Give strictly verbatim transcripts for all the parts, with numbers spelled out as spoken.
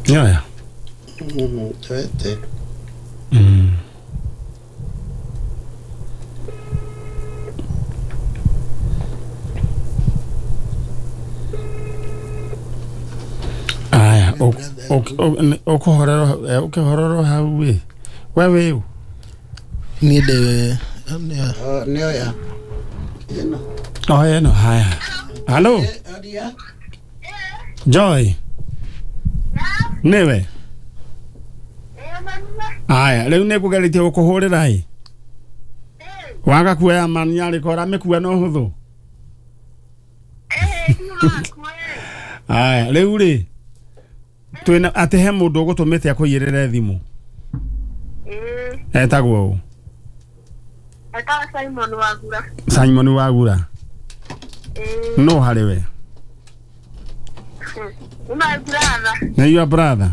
Nyoya. Mm, twete. Mm. Aya, ukuhorero ukihorero hau we. We we. Ni de nyoya. Eno. Oh, eno haya. Hello. Joy. Newe. Aya, rĩu nĩ ngũgeretie gũkũhũrĩra ĩ. Waga kuoya mani arĩko ũramĩkua na ũhũthũ. Aya, rĩu rĩ twĩna atĩ he mũndũ ũgũtũmĩte akũiyĩrĩre thimũ. Etagwo ũ? Etagwo Simon Wagura. Simon Wagura. No harĩ we? Nĩ my brother. Nĩ your brother?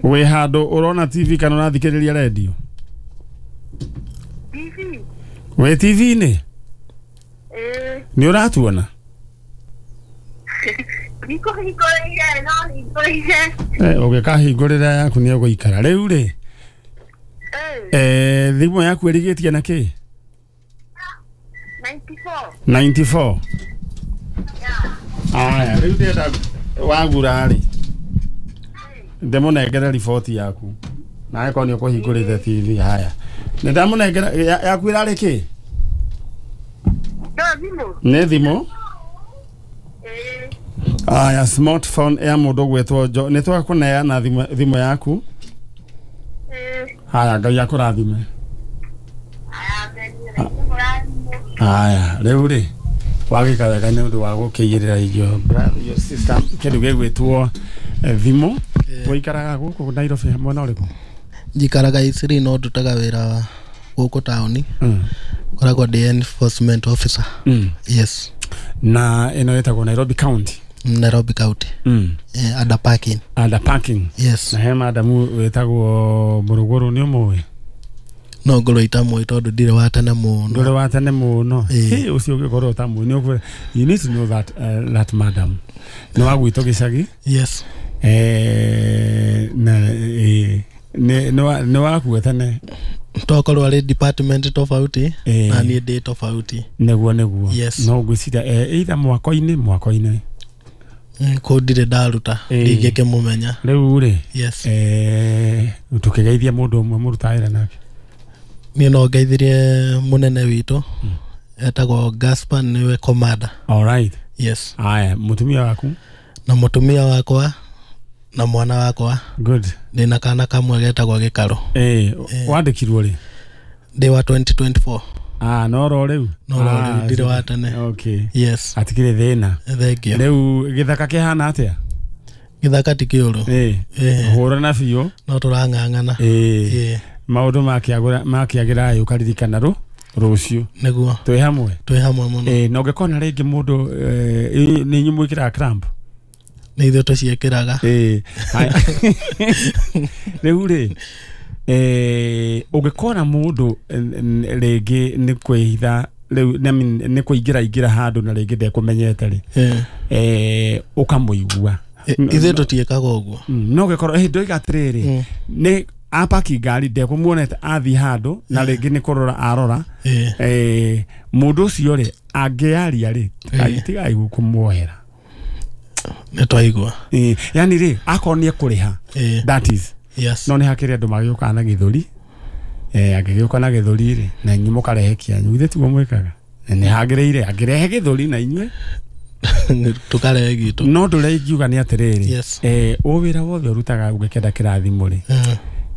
Wĩ handũ ũrona T V kana ũrathikĩrĩria radio? T V. Wĩ T V-inĩ? Nĩ ũratuona? Ndikũhingũrĩire no hingũrĩire. Eh, ũngĩkahingũrĩra yaku nĩ ũgũikara. Rĩu rĩ eh thimũ yaku ĩrigĩtie na kĩ? ninety-four. ninety-four. Aya, rĩu ndĩrenda Wagura rĩ ndĩmũnengere riboti yaku na angĩkorwo nĩ ũkũhingũrĩte T V. Haya, nĩ ndamũnengera yaku ĩrarĩ kĩ? No thimũ. Nĩ thimũ? Aya, smartphone ya mũndũ ũgwĩtwo Jo nĩ twakũneana thimũ yaku. Haya, Ngai akũrathime. Haya, rĩu rĩ wagĩka wega nĩ ũndũ wa gũkĩiyĩrĩra your brother, your sister kĩndũ gĩgwĩtwo thimũ. Waikaraga gũkũ Nairobi mwena ũrĩkũ? Njikaraga Isiri no ndutaga wĩra gũkũ taũni. Ngoragwo ndĩ enforcement officer. Mm. Yes. Na ĩno ĩtagwo Nairobi County. Nairobi County. Mm. Eh, under parking. Under parking. Yes. Na he madamu wĩtagwo Mũrũgũrũ nĩ ũmũĩ? No ngorwo itamũĩ tondũ ndirĩ wa tene mũno. Ndũrĩ wa tene mũno. Hĩ, ũcio ũngĩkorwo ũtamũĩ nĩ ũkwĩra you need to know that uh, that madam. Nĩ wa gwitũ gĩcagi? Yes. Eh, na eh, nĩ nĩ wakua tene. Tokorwo arĩ department tofauti na niĩ ndĩ tofauti. Nĩguo nĩguo. Yes. No ngwĩciria eh, either mwako-inĩ mwako-inĩ. Kũu ndirĩ ndaruta ndingĩkĩmũmenya. Rĩu rĩ yes. Eh, tũkĩgeithia mũndũ ũmwe mũrutaga wĩra nake. Niĩ no ngeithirie mũnene witũ etagwo Gaspar nĩwe commander. All right. Yes. Aya, mũtumia waku? Na mũtumia wakwa na mwana wakwa. Good. Ndĩna kana kamwe getagwo Gĩkaro. Eh, wandĩkirwo rĩ? Ndĩ wa twenty twenty-four. Ah, no ro rĩu? No ro rĩu, ndirĩ wa tene. Okay. Yes. Atikĩrĩ thĩna. Thank you. Rĩu gĩthaka kĩhana atĩa? Gĩthaka ti kĩũru. Eh. Hũrana biũ. No tũrang'ang'ana. Eh. Maũndũ makĩagũra makĩagĩra ũkaririkana rũ rũciũ. Nĩguo. Twĩ hamwe. Twĩ hamwe mũno. Eh, na ũngĩkona rĩngĩ mũndũ nĩ inyuĩ mwĩkĩraga cramp? Nĩ ithuĩ tũciĩkĩraga. Eh. Rĩu rĩ eh ũngĩkona mũndũ rĩngĩ nĩ kwĩhitha rĩu nĩ kũingĩra ingĩra handũ na rĩngĩ ndekũmenyete rĩ eh ũkamũigua. Ithuĩ tũtiĩkaga ũguo. No ũngĩkorwo eh ndoiga atĩrĩrĩ nĩ apaki ngari ndekũmuonete athiĩ handũ na rĩngĩ nĩ kũrora arora eh mũndũ ũcio rĩ angĩaria rĩ tigai kũmuohera. Nĩ twaigua. Eh yani rĩ akorwo nĩ ekũrĩha that is. Yes. No nĩ hakĩrĩ andũ magĩũkaga na gĩthũri eh angĩgĩũka na gĩthũri rĩ na inyuĩ mũkarehe kĩanyu ithe tiguo mwĩkaga nĩ hagĩrĩire angĩrehe gĩthũri na inyuĩ tũkarehe gitũ. No ndũrĩa ingiuga nĩ atĩrĩrĩ eh o wĩra wothe ũrutaga ũngĩkenda kĩrathimo rĩ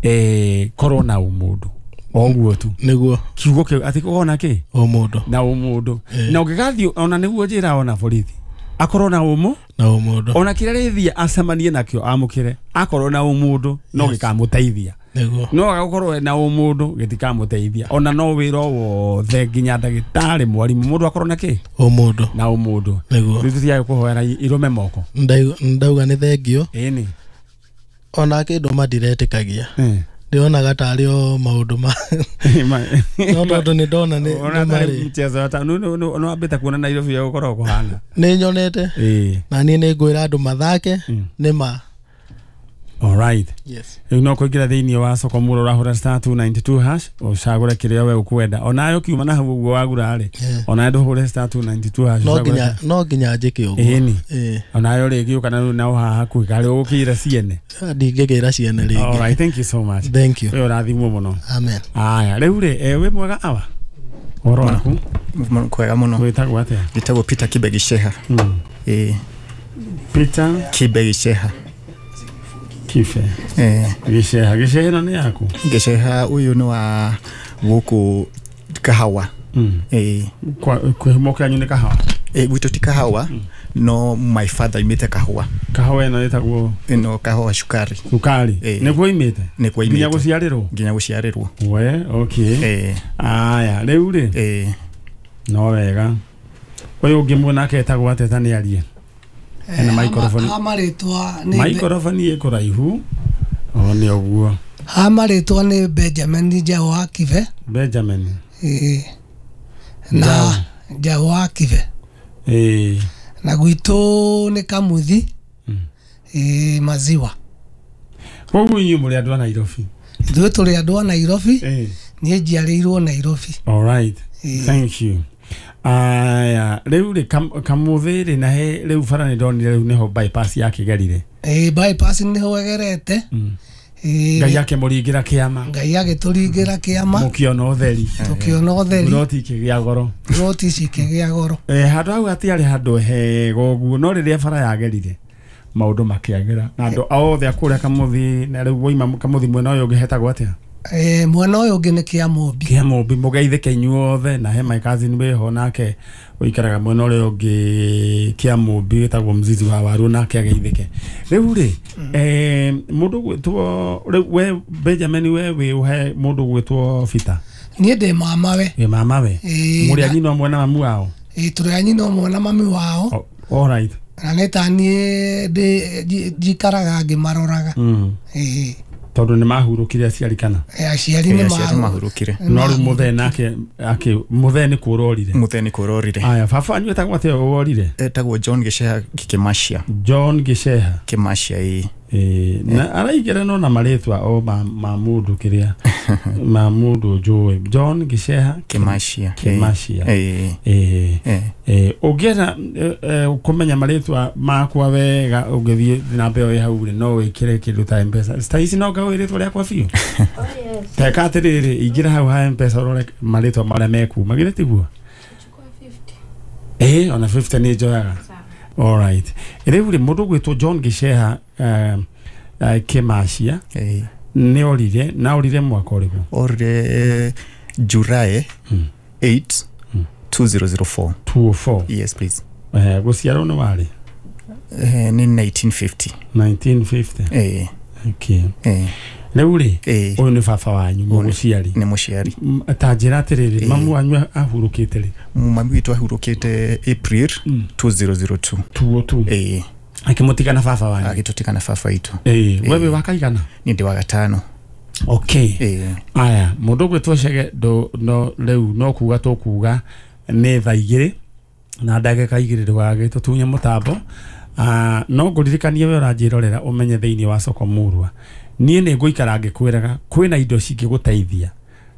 eh korwo na ũmũndũ oguo tu. Nĩguo. Kiugo kĩu atĩ ũkona kĩ? Ũmũndũ. Na ũmũndũ. Na ũngĩgathiĩ ona nĩguo njĩra ona borithi akorwo na ũmũ na ũmũndũ ona kĩrĩa rĩthiĩ acemanie nakĩo amũkĩre akorwo na ũmũndũ no gĩkamũteithia. Nĩguo. No agakorwo na ũmũndũ gĩtikamũteithia ona no wĩra wothe nginya ndagĩtarĩ mwarimũ mũndũ akorwo na kĩ? Ũmũndũ. Na ũmũndũ. Nĩguo. Rĩu tũthiaga kũhoera irũme moko. Ndauga nĩ thengio. Ĩni. Ona kĩndũ mandiretĩkagia. Ndionaga tarĩ o maũndũ ma no tondũ nĩ ndona nĩ marĩ mchezo ta no no no ambĩte kuona Nairobi ya gũkorwo kũhana. Nĩ nyonete. Ĩĩ. Na niĩ nĩ ngwĩra andũ mathake nĩ ma All right. Yes. Rĩu no kũingĩra thĩinĩ wa soko mũro ũrahũra star two ninety-two hash ũcagũre kĩrĩa we ũkwenda onayo kiuma na hau ũguo wagura rĩ onayo ndũhũre star two ninety-two hash no nginya no nginya njĩke ũguo ĩni onayo rĩngĩ ũka na nao haha hakuhĩ karĩ ũgũkĩra ciene ndingĩkĩra ciene rĩngĩ. All right, thank you so much. Thank you. Wewe ũrathimwo mũno. Amen. Aya rĩu rĩ wĩ mwega awa ũhoro waku? Kwega mũno. Wĩtagwo atĩa? Njĩtagwo Peter Kibe Gicheha. Ĩĩ Peter Kibe Gicheha. Kibe eh Gicheha. Gicheha ĩno nĩ yaku? Gicheha ũyũ nĩ wa gũkũ Kahawa. Eh kwa kĩhumo kĩanyu nĩ Kahawa? Eh gwitũ ti Kahawa no my father imĩte Kahawa. Kahawa ĩno ĩtagwo ĩno Kahawa cukari. Cukari nĩkuo imĩte? Nĩkuo imĩte nginya gũciarĩrwo? Nginya gũciarĩrwo. We okay. Eh aya rĩu rĩ eh no wega ũyũ ũngĩ mwanake etagwo atĩa ta nĩ arie ena microphone. Ha marĩtwa nĩ microphone ĩ kũraihu o nĩ ũguo. Ha marĩtwa nĩ Benjamin Njaũ wa Kibe. Benjamin ĩĩ na Njaũ wa Kibe ĩĩ na gwitũ nĩ Kamuthi ĩĩ Maziwa. Koguo inyuĩ mũrĩ andũ a Nairobi? Ithuĩ tũrĩ andũ a Nairobi. Niĩ njiarĩirwo Nairobi. All right. Thank you. Aya rĩu rĩ Kamuthi rĩ na he rĩu bara nĩ ndonire rĩu nĩho bypass yakĩgerire. Ĩĩ bypass nĩho ĩgerete. Ĩĩ Ngai akĩmũringĩra kĩama. Ngai agĩtũringĩra kĩama. Mũkĩona ũtheri. Tũkĩona ũtheri. Buroti ikĩgĩa goro. Buroti ici ikĩgĩa goro. Eh handũ hau hatiarĩ handũ hega ũguo no rĩrĩa bara yagerire maũndũ makĩagĩra na andũ othe a kũrĩa Kamuthi na rĩu woima Kamuthi mwena ũyũ ũngĩ hetagwo atĩa? Eh mwena ũyũ ũngĩ nĩ Kĩamũmbi. Kĩamũmbi mũgeithĩke inyuothe na he my cousin wĩho nake ũikaraga mwena ũrĩa ũngĩ Kĩamũmbi wĩtagwo Mzizi wa Waru nake ageithĩke. Rĩu rĩ eh mũndũ gwĩtwo rĩu we Benjamin we wĩ ũhe mũndũ gwĩtwo Peter? Niĩ ndĩ mamawe. Wĩ mamawe? Mũrĩ a nyina ũmwe na mamu wao? Ĩĩ tũrĩ a nyina ũmwe na mami wao. All right. Na nĩ ta niĩ ndĩ njikaraga ngĩmaroraga. Ĩĩ tondũ nĩ mahurũkire aciari kana? Aciari nĩ mahurũkire. No rĩu mũthee nake akĩ mũthee nĩ kũrorire. Mũthee nĩ kũrorire. Aya baba wanyu etagwo atĩa worire? Etagwo John Gicheha Kĩmacia. John Gicheha Kĩmacia ĩĩ. Ĩĩ na araigĩra no na marĩtwa o ma ma mũndũ kĩrĩa ma mũndũ njũĩ John Gicheha Kĩmacia. Kĩmacia. Ĩĩ ĩĩ ĩĩ ũngĩenda kũmenya marĩtwa makwa wega ũngĩthiĩ namba ĩyo ĩ hau rĩ no wĩkĩre kĩndũ ta M-Pesa. Ta ici no ngaũĩ rĩtwa rĩakwa biũ. Teka atĩrĩrĩ ingĩra hau ha M-Pesa ũrore marĩtwa marĩa mekuma githĩ tiguo? Ĩĩ ona fifty nĩ njoyaga. All right. Rĩu rĩ mũndũ gwĩtwo John Gicheha Kĩmacia nĩ orire na orire mwaka ũrĩkũ? Orire July eight two zero zero four. two oh four. Yes please. Eh gũciarwo nĩ warĩ? Eh nĩ nineteen fifty. nineteen fifty. Eh. Okay. Eh. Rĩu rĩ ũyũ nĩ baba wanyu mũciari? Nĩ mũciari. Ta njĩra atĩrĩrĩ mamu wanyu ahurũkĩte rĩ? Mami witũ ahurũkĩte April two zero zero two. two oh two. Ĩĩ. Akĩmũtiga na baba wanyu? Agĩtũtiga na baba witũ. Ĩĩ. We wĩ wa kaigana? Niĩ ndĩ wa gatano. Okay. Ĩĩ. Aya mũndũ ũgwĩtwo Chege no rĩu no kuga tũkuga nĩ thaa igĩrĩ na ndagĩka igĩrĩ ndũgagĩtũtunye mũtambo. Ah no ngũririkanie we ũranjĩrorera ũmenye thĩinĩ wa soko mũrwa niĩ nĩ ngũikara ngĩkwĩraga kwĩna indo cingĩgũteithia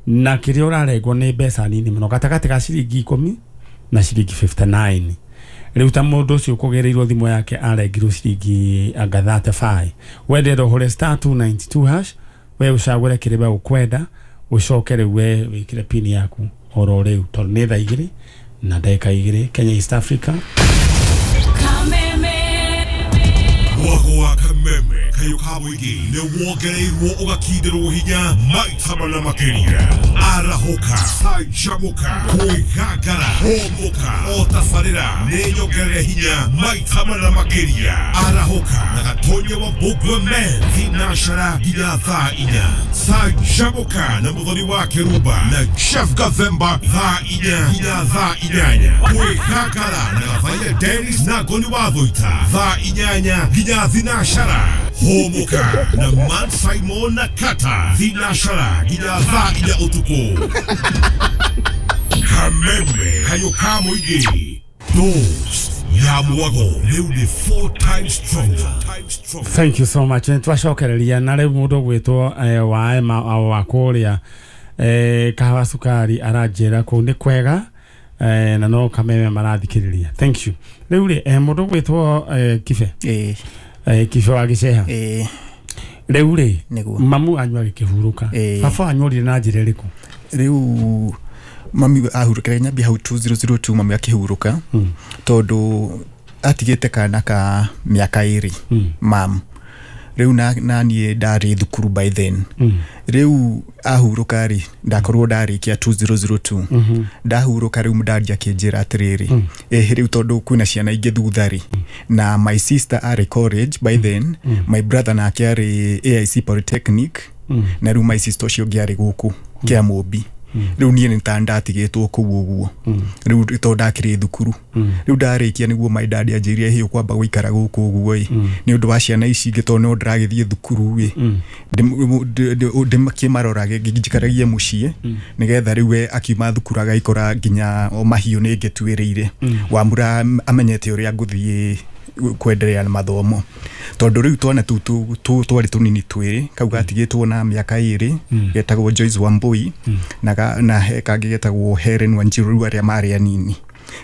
na kĩrĩa ũrarengwo nĩ mbeca nini mũno gatagatĩ ka ciringi ikũmi na ciringi fifty-nine. Rĩu ta mũndũ ũcio ũkũgĩrĩirwo thimũ yake arengirwo ciringi anga thirty-five. Wendera ũhũre star two ninety-two hash we ũcagũre kĩrĩa we ũkwenda ũcoke rĩu we wĩkĩre pin yaku oro rĩu tondũ nĩ thaa igĩrĩ na ndagĩka igĩrĩ Kenya East Africa. Mwako Kameme kayo ka mũingĩ nĩ wongereirwo ũgakindirwo hinya maita mana makĩria arahũka canjamũka kwĩgangara hũmũka o tabarĩra nĩ nyongerere hinya maita mana makĩria arahũka na Gatonya wa Mbũgua Men thinacara nginya thaa inya canjamũka na Mũthoni wa Kĩrumba na Chef Gathemba thaa inya nginya thaa inyanya kwĩgangara na Gathaiya Dennis na Ngoni wa Thũita thaa inyanya nginya thinacara hũmũka na Man Simon na Kata thinacara nginya thaa inya ũtukũ. Kameme kayo ka mũingĩ. Dose Ya mwago rĩu nĩ four times stronger. Thank you so much. Nĩtwacokereria na rĩu mũndũ ũgwĩtwo wa Emma wa kũrĩa kahawa cukari aranjĩra kũu nĩ kwega na no Kameme marathikĩrĩria. Thank you. Rĩu rĩ mũndũ ũgwĩtwo Kibe, Kibe wa Gĩceha, rĩu rĩ mamu anyu agĩkĩhurũka, baba wanyu orire na njĩra ĩrĩkũ? Rĩu mami ahurũkire nyambia hau two zero zero two mami akĩhurũka tondũ atigĩte kana ka mĩaka ĩrĩ mam. Rĩu na niĩ ndarĩ thukuru by then. Rĩu ahurũka rĩ ndakorwo ndarĩkia two zero zero two. Ndahurũka rĩu mũndari akĩnjĩra atĩrĩrĩ, ĩhĩ rĩu tondũ kwĩna ciana ingĩ thutha rĩ, na my sister arĩ college by then, my brother nake arĩ A I C Polytechnic, na rĩu my sister ũcio ũngĩ arĩ gũkũ Kĩamũmbi. Rĩu niĩ nĩ ta ndatigĩtwo kũu ũguo rĩu tondũ ndakĩrĩ thukuru. Rĩu ndarĩkia nĩguo my dad anjĩrire hĩ ũkwamba gũikara gũkũ ũguo ĩ nĩ ũndũ wa ciana ici ingĩ tondũ no ndĩragĩthiĩ thukuru ĩ ndĩmakĩmarorage njikaragie mũciĩ nĩgetha rĩu we akiuma thukuru agaikora nginya o mahiũ nĩ ngĩtuĩrĩire Wambura amenyete ũrĩa ngũthiĩ kwenderea na mathomo tondũ rĩu twana tũu twarĩ tũnini twĩrĩ kau gatigĩtwo na mĩaka ĩrĩ getagwo Joyce Wambui na na he kangĩ getagwo Helen Wanjiru rĩu arĩa marĩ anini.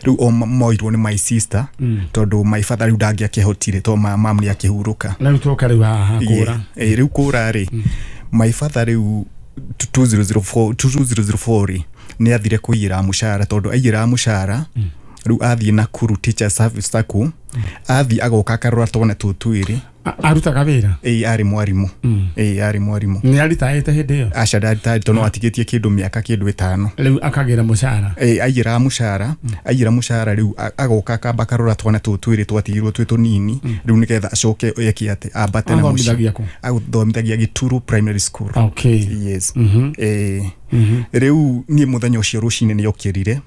Rĩu o moirwo nĩ my sister tondũ my father rĩu ndangĩakĩhotire tondũ mam nĩ akĩhurũka. Rĩu twoka rĩu haha kũra. Rĩu kũra rĩ my father rĩu two zero zero four two zero zero four rĩ nĩ athire kũiyĩra mũcara tondũ aiyĩra mũcara rĩu athiĩ Nakuru Teacher Service Sacco athiĩ agoka akarora twana tũu twĩrĩ. Arutaga wĩra? Ĩĩ arĩ mwarimũ. Ĩĩ arĩ mwarimũ. Nĩ aritaĩte hĩndĩ ĩyo? Aca ndaritaĩte tondũ no atigĩtie kĩndũ mĩaka kĩndũ ĩtano. Rĩu akagĩra mũcara? Ĩĩ aiyĩra mũcara, aiyĩra mũcara rĩu agoka akamba akarora twana tũu twĩrĩ twatigirwo twĩ tũnini rĩu nĩgetha acoke eke atĩ ambate na mũciĩ. Athomithagia Gĩturu Primary School. Okay. Yes. Ĩĩ rĩu niĩ mũthenya ũcio rũcinĩ nĩ okĩrire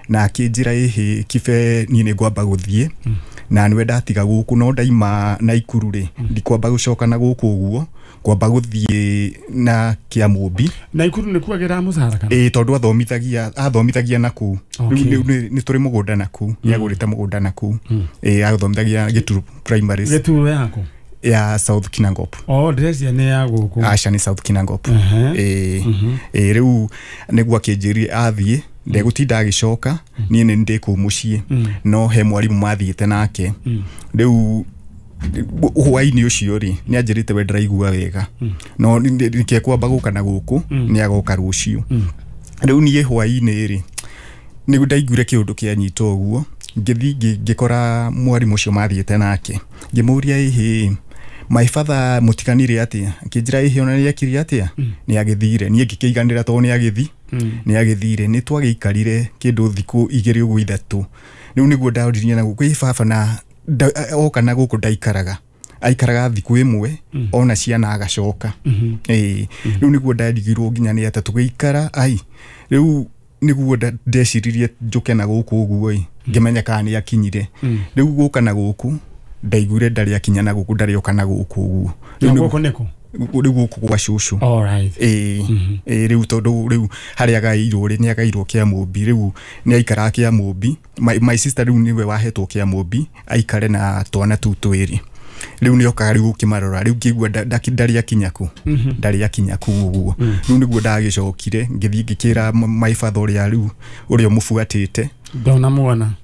na akĩnjĩra ĩhĩ Kibe niĩ nĩ ngwamba gũthiĩ na nĩwe ndatiga gũkũ no ndaima Naikuru rĩ ndikwamba gũcoka na gũkũ ũguo kwamba gũthiĩ na Kĩamũmbi. Naikuru nĩ kuagĩra mũcara kana? Ĩĩ tondũ athomithagia athomithagia nakũu. Rĩu nĩ tũrĩ mũgũnda nakũu, nĩ agũrĩte mũgũnda nakũu. Ĩĩ athomithagia Gĩturu Primary. Gĩturu yaku? Ya South Kinangop. Oh, ndĩreciria nĩ ya gũkũ. Aca nĩ South Kinangop. Ĩĩ ĩĩ rĩu nĩguo akĩnjĩrire athiĩ ndegũtinda agĩcoka niĩ nĩ ndĩ kũu mũciĩ no he mwarimũ mathiĩte nake. Rĩu hwaĩ-inĩ ũcio rĩ nĩ anjĩrĩte we ndĩraigua wega no nĩkekwamba gũka na gũkũ nĩ agoka rũciũ. Rĩu niĩ hwaĩ-inĩ rĩ nĩguo ndaiguire kĩũndũ kĩanyita ũguo ngĩthiĩ ngĩkora mwarimũ ũcio mathiĩte nake ngĩmũria ĩhĩ my father mũtiganire atĩa akĩnjĩra ĩhĩ ona nĩ ekire atĩa nĩ agĩthire. Niĩ ngĩkĩiganĩra tondũ nĩ agĩthi nĩ agĩthire. Nĩ twagĩikarire kĩndũ thikũ igĩrĩ ũguo ithatũ. Rĩu nĩguo ndoririe na gũkũ ĩ baba na oka na gũkũ ndaikaraga aikaraga thikũ ĩmwe ona ciana agacoka. Ĩĩ rĩu nĩguo ndarigirwo nginya nĩ atĩ tũgĩikara ai rĩu nĩguo ndeciririe njũke na gũkũ ũguo ĩ ngĩmenya kana nĩ akinyire. Rĩu gũka na gũkũ ndaiguire ndarĩ akinya na gũkũ ndarĩ oka na gũkũ ũguo. Rĩu gũkũ nĩkũ? Rĩu gũkũ gwa cũcũ. All right. Ĩĩ ĩĩ rĩu tondũ rĩu harĩa agaĩirwo rĩ nĩ agaĩirwo Kĩamũmbi rĩu nĩ aikaraga Kĩamũmbi. My, my sister rĩu nĩwe wahetwo Kĩamũmbi aikare na twana tũu twĩrĩ. Rĩu nĩ okaga rĩu gũkĩmarora rĩu ngĩigua ndarĩ akinya kũ ndarĩ akinya kũu ũguo. Rĩu nĩguo ndagĩcokire ngĩthiĩ ngĩkĩra my father ũrĩa rĩu ũrĩa ũmũbuatĩte Ndona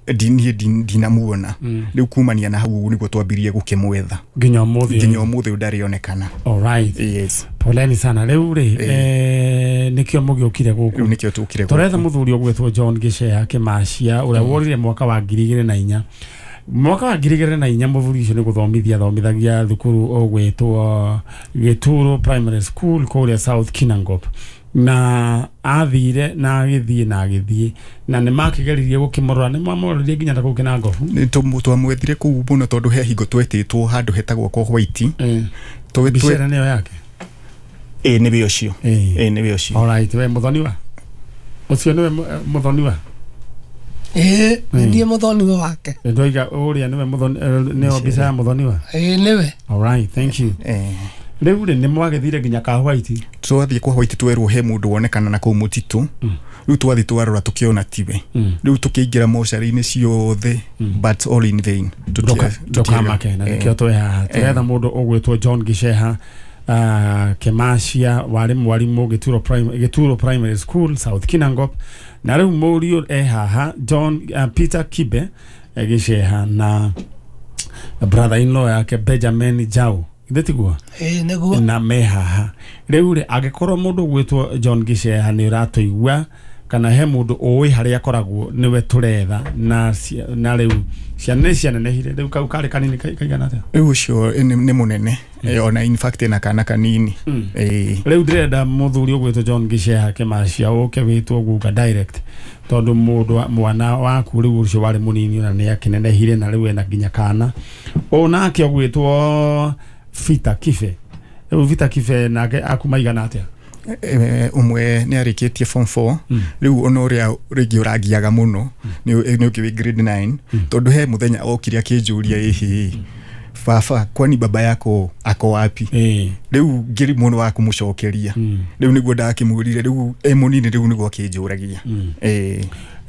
niĩ ndinamuona. Rĩu kumania na hau nĩguo twambirie gũkĩmwetha nginya ũmũthĩ nginya ũmũthĩ ndarĩonekana. All right. Yes. Poleni sana. Rĩu rĩ eh nĩkĩo mũgĩũkire gũkũ? Rĩu nĩkĩo tũkire gũkũ. Tũretha mũthuri ũgwĩtwo John Gĩceha Kĩmacia ũrĩa worire mwaka wa ngiri igĩrĩ na inya. Mwaka wa ngiri igĩrĩ na inya mũthuri ũcio nĩ gũthomithia athomithagia thukuru ũgwĩtwo Gĩturo Primary School kũrĩa South Kinangop. Na athire na agĩthiĩ na agĩthiĩ na nĩ makĩgeririe gũkĩmũrora nĩ mamũroririe nginya ta kũu Kinangop. Nĩ twamwethire kũu mũno tondũ he hingo twetĩtwo handũ hetagwo kwa White. Mbica ĩrĩa nĩyo yake? Ĩĩ nĩwe ũcio. Ĩĩ nĩwe ũcio. All right, we mũthoniwa ũcio nĩwe mũthoniwa? Ĩĩ niĩ mũthoniwa wake. Ndoiga ũrĩa nĩwe mũthoni nĩyo mbica ya mũthoniwa? Ĩĩ nĩwe. All right, thank you. Rĩu rĩ nĩ mwagĩthire nginya ka White? Twathiĩ kwa White twerwo he mũndũ wonekana na kũu mũtitũ. Rĩu twathiĩ twarora tũkĩona tiwe. Rĩu tũkĩingĩra mocarĩ-inĩ ciothe, but all in vain. Ndũkamake, na nĩkĩo twĩ haha. Tũretha mũndũ ũgwĩtwo John Gicheha uh, Kemacia, warĩ mwarimũ Gĩturo Primary, Gĩturo Primary School, South Kinangop. Na rĩu mũriũ e haha John uh, Peter Kibe eh, Gicheha na brother in law yake Benjamin Jau. Ithe tiguo? Ĩĩ nĩguo. Na me haha. Rĩu rĩ angĩkorwo mũndũ ũgwĩtwo John Gicheha nĩ ũratũigua kana he mũndũ ũĩ harĩa akoragwo nĩwe tũretha, na na rĩu ciana nĩ cianenehire, rĩu kau karĩ kanini kaigana atĩa? Rĩu ũcio nĩ mũnene, ona in fact ena kana kanini. Rĩu ndĩrenda mũthuri ũgwĩtwo John Gicheha Kemacia ũke wĩtwo guka direct, tondũ mũndũ mwana waku rĩu ũcio warĩ mũnini ona nĩ akĩnenehire na rĩu ena nginya kana. Onake ũgwĩtwo Vita Kibe. Rĩu Vita Kibe nake akuma igana atĩa? Ũmwe nĩ arĩkĩtie form four, rĩu ona ũrĩa rĩngĩ ũrangiaga mũno nĩ ũngĩ wĩ grade nine, tondũ he mũthenya okire akĩnjũria ĩhĩ baba kwani baba yako ako wapi? Rĩu ngĩri mũno wa kũmũcokeria, rĩu nĩguo ndakĩmwĩrire, rĩu e mũnini, rĩu nĩguo akĩnjũragia.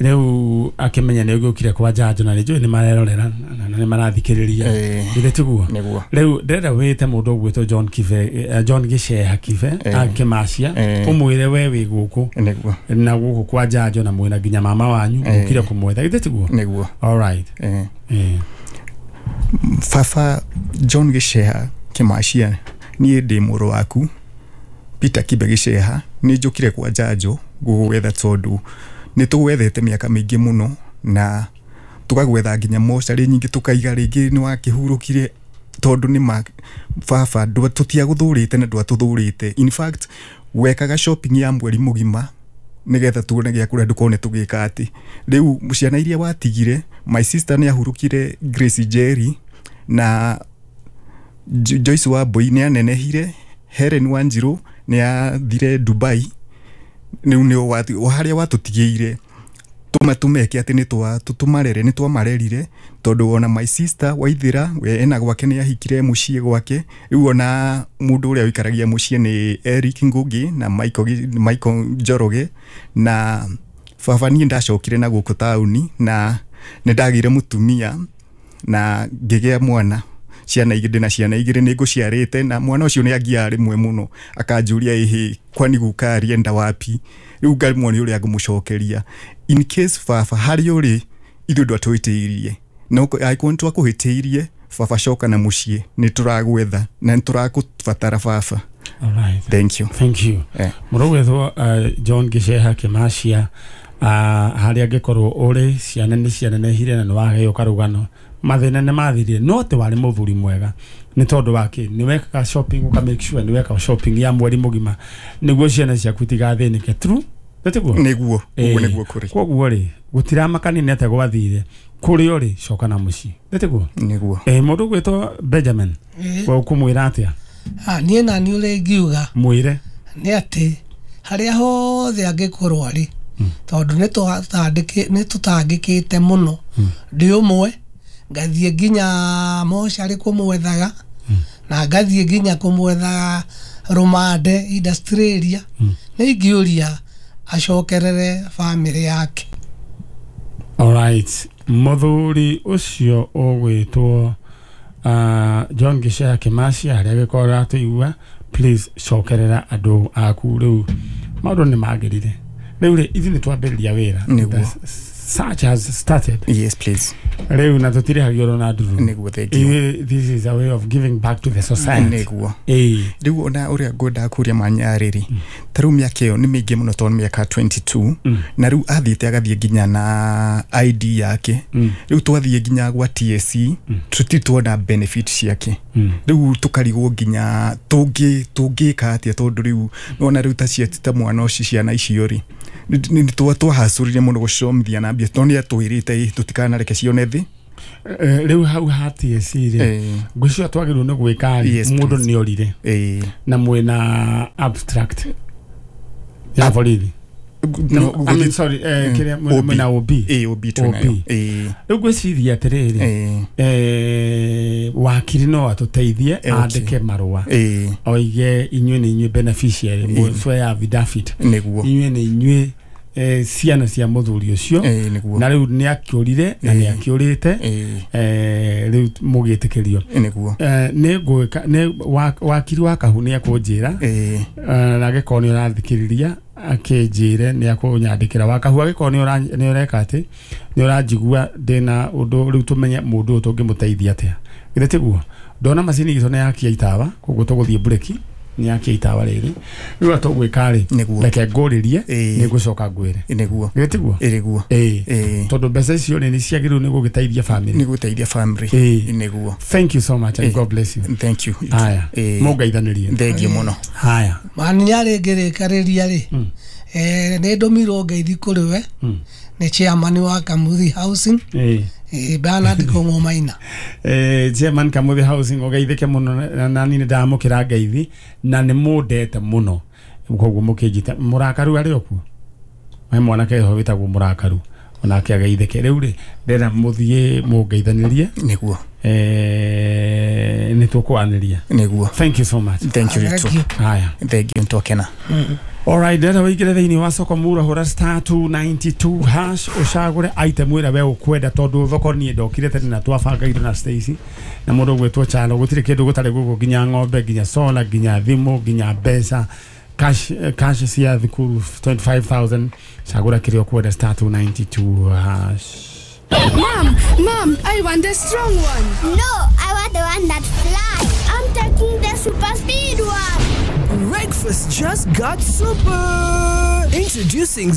Rĩu akĩmenya nĩ ũgĩũkire kwa njanjo na nĩnjũĩ nĩ marerorera na nĩ marathikĩrĩria. Githĩ tiguo? Rĩu ndĩrenda wĩte mũndũ ũgwĩtwo John Kibe, John Gicheha Kibe Kemacia, ũmwĩre we wĩ gũkũ na gũkũ kwa njanjo na mwĩna nginya mama wanyu ũkire kũmwetha. Githĩ tiguo? Nĩguo. All right. Baba John Gicheha Kemacia, niĩ ndĩ mũrũ waku Peter Kibe Gicheha, nĩ njũkire kwa njanjo gũgwetha tondũ nĩ tũgwethete mĩaka mĩingĩ mũno na tũkagwetha nginya mocarĩ nyingĩ tũkaiga rĩngĩ nĩ wakĩhurũkire tondũ nĩ ma baba tũtiagũthũrĩte na ndwatũthũrĩte. In fact wekaga shopping ya mweri mũgima nĩgetha tuone gĩa kũrĩa ndũkone tũgĩka atĩ. Rĩu ciana iria watigire, my sister nĩ ahurũkire Grace Jerry na Joyce Wambui nĩ anenehire, Helen Wanjiru nĩ athire Dubai. Rĩu nĩ harĩa watũtigĩire tũmeke atĩ nĩ tũmarere, nĩ twamarerire tondũ ona my sister Waithĩra we ena gwake nĩ ahikire mũciĩ gwake. Rĩu ona mũndũ ũrĩa ũikaragia mũciĩ nĩ Eric Ngugi na Michael, Michael Njoroge. Na baba niĩ ndacokire na gũkũ taũni na nĩ ndagĩire mũtumia na ngĩgĩa mwana, ciana igĩrĩ na ciana igĩrĩ nĩ ngũciarĩte, na mwana ũcio nĩ angiaga rĩmwe mũno akanjũria ĩhĩ kwani guka arienda wapi? Rĩu ngaremwo nĩ ũrĩa ngũmũcokeria. In case baba harĩa ũrĩ ithuĩ ndwatũhĩtĩirie, na angĩkorwo nĩ twakũhĩtĩirie baba coka na mũciĩ, nĩ tũragwetha na nĩ tũrakũbatara baba. All right. Thank you. Thank you. Mũrũ gwĩtwo John Gicheha Kemacia, harĩa angĩkorwo ũrĩ ciana nĩ cianenehire na nĩ waheo karũgano, mathĩna nĩ mathirire, no atĩ warĩ mũthuri mwega nĩ tondũ wake nĩ wekaga shopping, ũka make sure nĩ weka shopping ya mweri mũgima nĩguo ciana ciaku itigathĩnĩke. True? Nĩtiguo? Nĩguo, ũguo nĩguo kũrĩ. Koguo rĩ gũtiramakania nĩ atĩa gwathire, kũrĩ ũrĩ coka na mũciĩ. Nĩtiguo? Nĩguo. Eh, mũndũ ũgwĩtwo Benjamin, we ũkũmwĩra atĩa? Ah, niĩ na niĩ ũrĩa ingiuga mwĩre nĩ atĩ harĩa hothe angĩkorwo arĩ, tondũ nĩ tũtangĩkĩte mũno, ndĩ ũmwe ngathiĩ nginya mocarĩ kũmwethaga na ngathiĩ nginya kũmwethaga rũmande industrial area, nĩ ingĩũria acokerere bamĩrĩ yake. All right. Mũthuri ũcio ũgwĩtwo uh, John Gicheha Kemacia, harĩa angĩkorwo ũratũigua, please cokerera andũ aku. Rĩu maũndũ nĩ magĩrire. Rĩu rĩ ithuĩ nĩ twambĩrĩria wĩra. Nĩguo. Search has started. Yes, please. Rĩu na tũtirĩhagio na nduru. Nĩguo, thank you. This is a way of giving back to the society. Nĩguo. Rĩu ona ũrĩa ngwendaga kũria manyarĩri, ta rĩu mĩaka ĩyo nĩ mĩingĩ mũno tondũ mĩaka twenty two, na rĩu athiĩte agathiĩ nginya na I D yake. Rĩu twathiĩ nginya gwa T S C, tũtirĩ tuona benefit ciake. Rĩu tũkarigwo nginya tũngĩ tũngĩka atĩa tondũ rĩu nĩwona rĩu ta cia ta mwana ũcio ciana icio rĩ nĩ twahacũrire mũno gũcomithia na mbia tondũ nĩ atwĩrĩte tũtikanareke cione thĩ. Rĩu hau ha T S C rĩ ngwĩciria twagĩrĩirwo nĩ gwĩka mũndũ nĩ orire na mwĩna abstract ya borithi. No, I mean, sorry, eh, kĩrĩa mwĩna O B. Ĩĩ, O B twĩnayo. Ĩĩ. Rĩu ngwĩciria atĩrĩrĩ, eh, wakiri no atũteithie andĩke marũa oige inyuĩ nĩ inyuĩ beneficiary, mũcwe affidavit, nĩguo inyuĩ nĩ inyuĩ eh, ciana cia mũthuri ũcio, na rĩu nĩ akĩũrire na nĩ akĩũrĩte, eh, rĩu mũgĩtĩkĩrio. Nĩguo. Eh, nĩ ngwĩka nĩ wakiri wa Kahu nĩ ekũnjĩra, na angĩkorwo nĩ ũrathikĩrĩria akĩnjĩre nĩ akũnyandĩkĩra. Wa Kahu angĩkorwo nĩ ũreka atĩ nĩ ũranjigua ndĩna ũndũ, rĩu tũmenye mũndũ ũyũ tũngĩmũteithia atĩa. Githĩ tiguo? Ndona macini itũ nĩ yakia itawa, koguo tũgũthiĩ breki, nĩ yakia itawa rĩrĩ. Rĩu tũgwĩka rĩ, reke ngũrĩrie, nĩ ngũcoka ngwĩre. Nĩguo. Githĩ tiguo? Nĩguo. Ĩĩ. Tondũ mbeca icio rĩ nĩ ciagĩrĩirwo nĩ gũgĩteithia family. Nĩ gũteithia family. Nĩguo. Thank you so much and God bless you. Thank you. Haya. Mũngeithanĩrie. Thank you mũno. Haya. Maninya rĩngĩrĩkarĩria rĩ, eh, nĩ ndũmirwo ngeithi kũrĩ we nĩ chairman wa Kamuthi Housing, eh, Bernard Kong'o Maina. Eh, chairman Kamuthi Housing ũgeithĩke mũno, na niĩ nĩ ndamũkĩra ngeithi na nĩ mũndete mũno, koguo mũkĩnjĩta mũrakaru arĩ o kuo, he mwanake ho wĩtagwo mũrakaru, onake ageithĩke. Rĩu rĩ ndĩrenda mũthiĩ mũngeithanĩrie. Nĩguo. Eh, nĩ tũkwanĩria. Nĩguo. Thank you so much. Thank you. Thank you. Haya. Thank you, twakena. Alright, ndĩrenda wĩingĩre thĩinĩ wa soko mura, hũra star two ninety two hash ũcagũre item ĩrĩa we ũkwenda, tondũ thoko niĩ ndokire tene na twabanga indo na Stacy na mũndũ ũgwĩtwo Chalo, gũtirĩ kĩndũ gũtarĩ gũkũ, nginya ng'ombe, nginya solar, nginya thimũ, nginya mbeca cash, cash cia thukuru twenty five thousand. Cagũra kĩrĩa ũkwenda, star two ninety two hash. Mom, Mom, I want the strong one. No, I want the one that flies. I'm taking the super speed one. Breakfast just got super. Introducing